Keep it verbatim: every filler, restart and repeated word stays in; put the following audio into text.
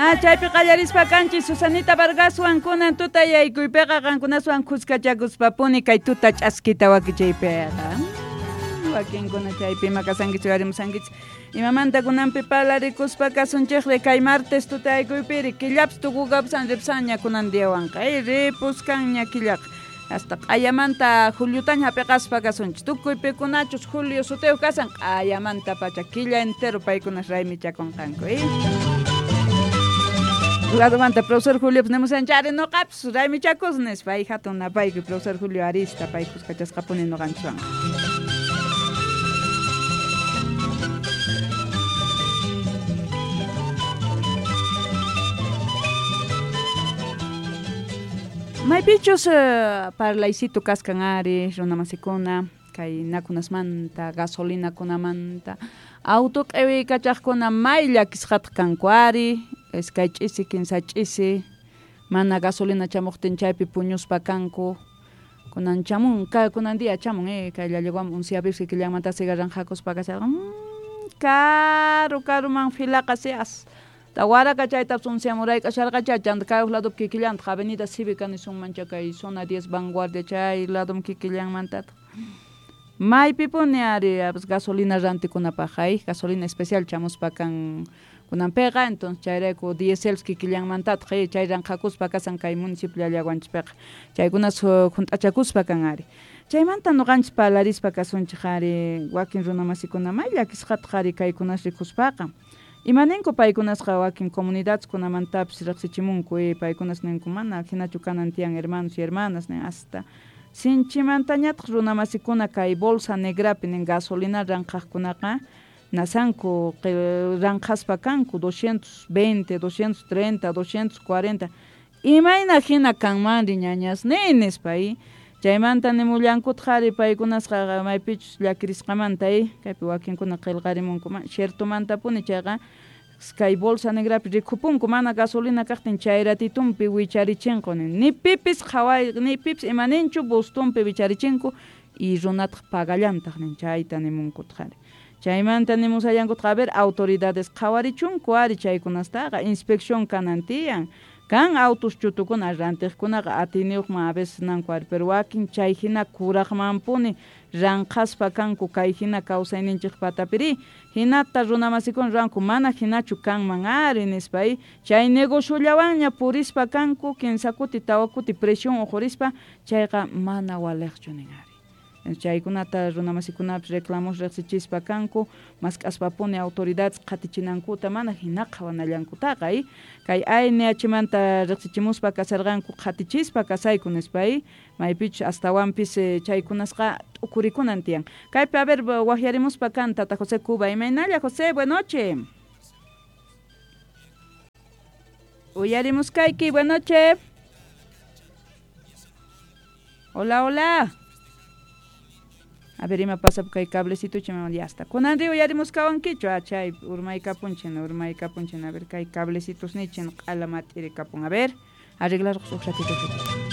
Ah, chaypi qallarispa kanchis Susanita Vargaswan kunan tuta yaykuypiqa qankunaswan khuskachakuspapuni kay tuta ch'askita wakichaypiqa. Wakinkuna chaypi ima kasankichik uyarimusankichik. Imamanta kunanpi parlarikuspa kasunchikri kay martes tuta yaykuypiri killapis tukukapusan ripsanña kunan diawanqa. Ay, ripuskanña killaqa. Hasta q'ayamanta juliutaña hap'iqaspa kasunchik. Tukuy pikunachus julio sutiyuq kasan q'ayamanta pacha killa entero paykunas raymichakunqanku. Eh? Ladumanta profesor Julio pues nimusanchari nuqapis raymichakus nispa ay hatun napaykuy profesor Julio Arista pay kuskachasqapuni nuqanchikwanqa. Maypichus uh, parlaycito kaskan ari runamasikuna kay nakunasmanta gasolinakunamanta auto q'iwiykachaqkuna may llakisqataq kanku ari iskay ch'isi kinsa ch'isi mana gasolina chamuqtin chaypi puñuspa kanku kunan chamun kay kunan día chamun eh kay llallawan unsiapis kikillanmanta cigarranqakuspa kasharqa mmm, karu karuman filaqa sias Tawaraka chaytapas unsiamurayk'asharqacha chanta kay huk ladopi kikillantaq Avenida Cívica nisunmancha kay zona diez Vanguardia chay ladom kikillanmantataq maypipuni ari gasolina rantikunapaq ay gasolina especial chamuspa kan kunanpiqa entonces chayrayku diesel kikillanmantataq chay ranqhakuspa kasan kay municipio llallawanchispiqa chaykunas hunt'achakuspa kan ari chaymanta nuqanchis parlarispa kasunchik ari wakin runamasikuna may llakisqataq ari kaykunas rikuspaqa. Imaninku paykunasqa wakin comunidadeskunamantapis riqsichimunku eh, paykunas ninku mana hinachu kanan tiyan hermanos y hermanas nin hasta sinchimantañataq runamasikuna kay bolsa negrapi nin gasolina ranqhaqkunaqa nasanku ranqhaspa kanku doscientos veinte, doscientos treinta, doscientos cuarenta imayna hina kanmanri ñañasni nispa eh. Chaymanta nimullankutaq ari paykunasqa maypichus llakirisqamanta eh kaypi wakinkuna qillqarimunku ciertomantapuni chayqa kay bolsa negrapi rikupunku mana gasolina kaqtin chay ratitumpi wicharichinqu ni pipis qhaway ni pipis imaninchu bustumpi wicharichinko y runataq pagallantaq nin chayta nimunkutaq ari chaymanta nimusallankutaq a ver autoridades qhawarichunku ari chaykunastaqa inspección kanan tiyan kan autos chutukuna rantiqkunaqa atiniyuqman a veces nanku ari pero wakin chay hina kuraqmanpuni ranqhaspa kanku kay hina kawsayninchik patapiri hinata runamasikuna ruwanku mana hinachu kanman ari nispa chay negociollawanña purispa kanku kinsa kuti tawa kuti presión uqurispa chayqa mana waliqchu nin ari chaykunata runamasikunapis reclamos riqsichispa kanku mask'aspapuni autoridades qhatichinankuta mana hina qhawanallankutaqa eh kay A N H manta riqsichimuspa kasarqanku qhatichispa kasayku nispa eh maypichus astawanpis chaykunasqa t'ukurikunan tiyan kaypi a ver waqyarimuspa kan tata José Cuba imaynalla José buenas noches uyarimuskayki buenas noches hola hola. A ver, ima pasa kay cablecito chima ya está. Kunan ri uyarimuskawankichu ah chay urmaykapunchin urmaykapunchin a ver kay cablecitos nichin q'ala mat'irikapun a ver arreglar huk ratito.